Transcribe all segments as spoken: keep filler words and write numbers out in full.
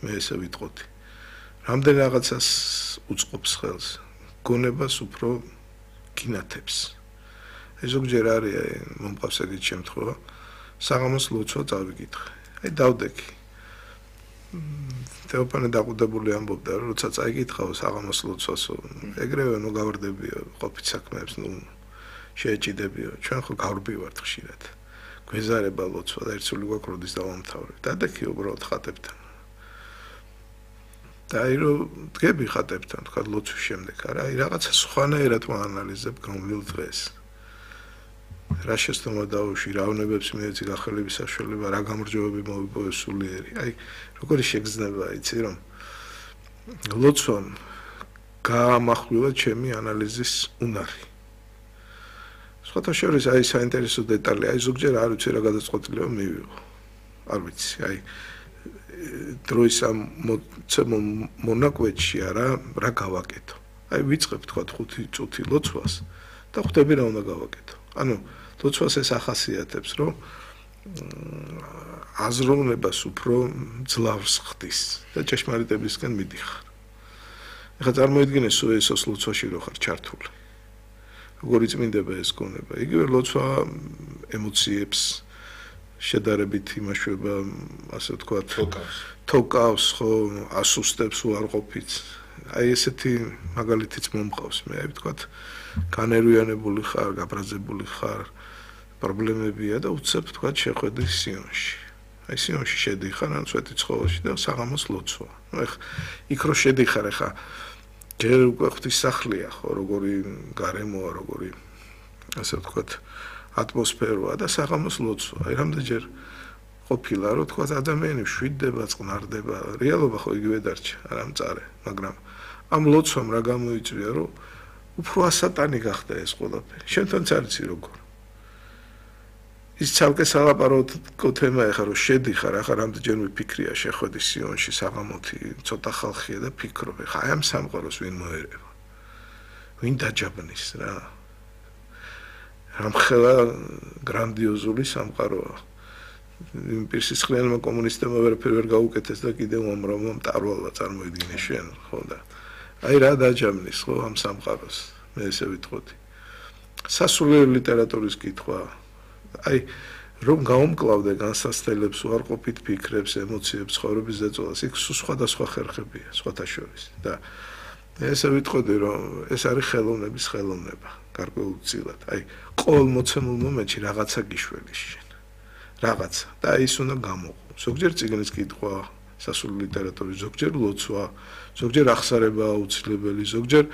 მე ესე ვიტყოდი. რამდენ რაღაცას უწყობს ხელს, გონებას უფრო გინათებს. ეს ზოგჯერ არის მომყავს ეგეთი შემთხვევა, საღამოს ლოცვა წავიკითხე. აი დავდექი. თეოფანე დაყუდებული ამბობდა, რომ როცა წაიკითხავ საღამოს ლოცვასო, ეგრევე ნუ გავარდებიო ყოფით საქმეებს, ნუ შეეჭიდებიო. ჩვენ ხო გავრბივართ ხშირად. გვეზარება ლოცვა და ერთსული გვაქვს როდის დავამთავრებ. დადექი უბრალოდ ხატებთან. და აი რომ დგები ხატებთან, თქვა ლოცვის შემდეგ, არა, აი რაღაცა სხვანაირად ვაანალიზებ გრომვილ დღეს. რა შეცდომა დაუშვი, რა უნებებს მიეცი გახელების საშუალება, რა გამარჯვებები მოვიპოვე სულიერი. აი, როგორი შეგრძნება, იცი რომ ლოცვამ გაამახვილა ჩემი ანალიზის უნარი. სხვათა შორის აი საინტერესო დეტალი, აი ზოგჯერ არ ვიცი რა გადაწყვეტილება მივიღო. არ ვიცი, აი დროის ამ მონაკვეთში არა, რა გავაკეთო. აი ვიწყებ თქვა ხუთი წუთი ლოცვას და ხვდები რა უნდა გავაკეთო. ანუ ლოცვას ეს ახასიათებს, რომ აზროვნებას უფრო ძლავს ხდის და ჭეშმარიტებისკენ მიდიხარ. ეხლა წარმოიდგინე სუესოს ლოცვაში რო ხარ ჩართული. როგორი წმინდება ეს გონება. იგივე ლოცვა ემოციებს შედარებით იმაშვება, ასე ვთქვათ, თოკავს, ხო, ასუსტებს უარყოფით. აი ესეთი მაგალითიც მომყავს მე, აი ვთქვათ, განერვიანებული ხარ, გაბრაზებული ხარ, პრობლემებია და უცებ ვთქვათ შეხვედი სიონში. აი სიონში შედიხარ ან სვეტიცხოველში და საღამოს ლოცვა. ნუ ეხა იქ რო შედიხარ, ეხა ჯერ უკვე ღვთისმსახლია, ხო, როგორი გარემოა, როგორი ასე ვთქვათ ატმოსფეროა და საღამოს ლოცვა. აი რამდენჯერ ყოფილა, რომ თქვა ადამიანი შვიდდება, წყნარდება, რეალობა ხო იგივე დარჩა, არა მწარე, მაგრამ ამ ლოცვამ რა გამოიწვია, რომ უფრო ასატანი გახდა ეს ყველაფერი. შენთანაც არიცი როგორ. ის ცალკე სალაპარაკო თემა ეხა რომ შედიხარ, ახლა რამდენჯერ მიფიქრია შეხვედი სიონში საღამოთი, ცოტა ხალხია და ფიქრობ, ეხა აი ამ სამყაროს ვინ მოერევა? ვინ დაჯაბნის რა? რამხელა გრანდიოზული სამყაროა. იმ პირსისხლიანმა კომუნისტებმა ვერაფერ ვერ გაუკეთეს და კიდევ უამრავმა მტარვალა წარმოიდგინე შენ, ხო და აი რა დაჯამნის, ხო, ამ სამყაროს. მე ესე ვიტყოდი. სასულიერო ლიტერატურის კითხვა, აი რომ გაუმკლავდე განსასწრებელებს, უარყოფით ფიქრებს, ემოციებს, ცხოვრების ზეწოლას, იქ სხვადასხვა ხერხებია, სხვათა შორის და ესე ვიტყოდი, რომ ეს არის ხელოვნების ხელოვნება, გარკვეულწილად. აი ყოველ მოცემულ მომენტში რაღაცა გიშველის შენ. რაღაცა და ის უნდა გამოყო. ზოგჯერ წიგნის კითხვა, სასულიერო ლიტერატურის, ზოგჯერ ლოცვა, ზოგჯერ აღსარება აუცილებელი, ზოგჯერ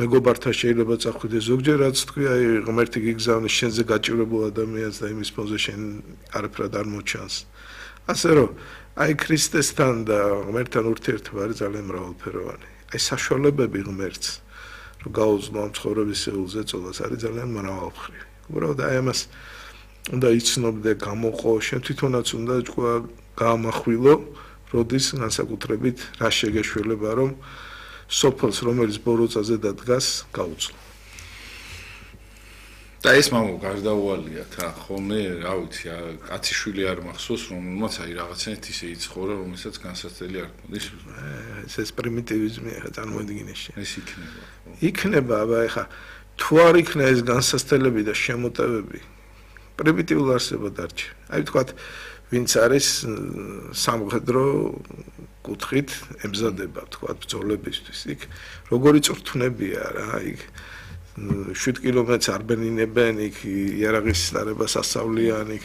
მეგობართან შეიძლება წახვიდე, ზოგჯერ რაც თქვი, აი ღმერთი გიგზავნის შენზე გაჭირებულ ადამიანს და იმის ფონზე შენ არაფრად არ მოჩანს. ასე რომ, აი ქრისტესთან და ღმერთთან ურთიერთობა არის ძალიან მრავალფეროვანი. აი საშუალებები ღმერთს რომ გაუძლო ამ ცხოვრების ზეწოლას არის ძალიან მრავალმხრივი. უბრალოდ აი ამას უნდა იცნობდე, გამოყო, შენ თვითონაც უნდა თქვა გაამახვილო, როდის განსაკუთრებით რა შეგეშველება, რომ სოფელს, რომელიც ბოროტაზე დადგას, გაუძლო. და ეს მამო გარდაუვალიათ რა, ხოლმე, რა ვიცი, კაციშვილი არ მახსოვს, რომელმაც აი რაღაცნაირად ისე იცხოვრა, რომელსაც განსაცდელი არ ქონდეს. ეს ეს პრიმიტივიზმია, ხა წარმოიდგინე შენ. ეს იქნება. იქნება, აბა ეხა თუ არ იქნა ეს განსაცდელები და შემოტევები, პრიმიტიულ არსებად დარჩა. აი ვთქვათ, ვინც არის სამხედრო კუთხით ემზადება, თქვათ, ბრძოლებისთვის. იქ როგორი წვრთნებია რა, იქ შვიდ კილომეტრს არ ბენინებენ, იქ იარაღის დარებას ასწავლიან, იქ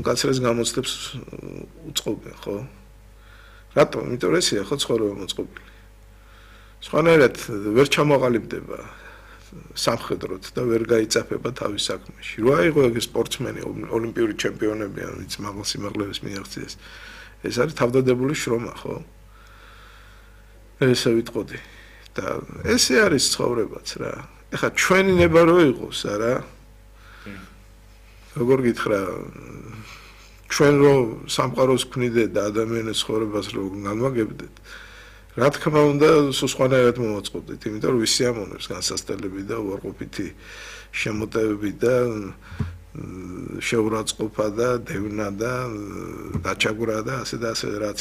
უკაცრეს გამოცდებს უწყობენ, ხო? რატომ? იმიტომ რომ ესეა ხო ცხოვრება მოწყობილი. სხვანაირად ვერ ჩამოყალიბდება სამხედროდ და ვერ გაიწაფება თავის საქმეში. რო აიღო ეგ სპორტსმენი, ოლიმპიური ჩემპიონები, ვინც მაღალ სიმაღლეებს მიაღწიეს. ეს არის თავდადებული შრომა, ხო? ესე ვიტყოდი. და ესე არის ცხოვრებაც რა. ეხლა ჩვენი ნება რო იყოს, არა? როგორ გითხრა, ჩვენ რო სამყაროს ქმნიდეთ და ადამიანის ცხოვრებას რო განვაგებდეთ, რა თქმა უნდა, სხვანაირად მომაწყობდით, იმიტომ რომ ვისი ამონებს განსასწრებელი და უარყოფითი შემოტევები და შეურაცხყოფა და დევნა და დაჩაგვრა და ასე და ასე რაც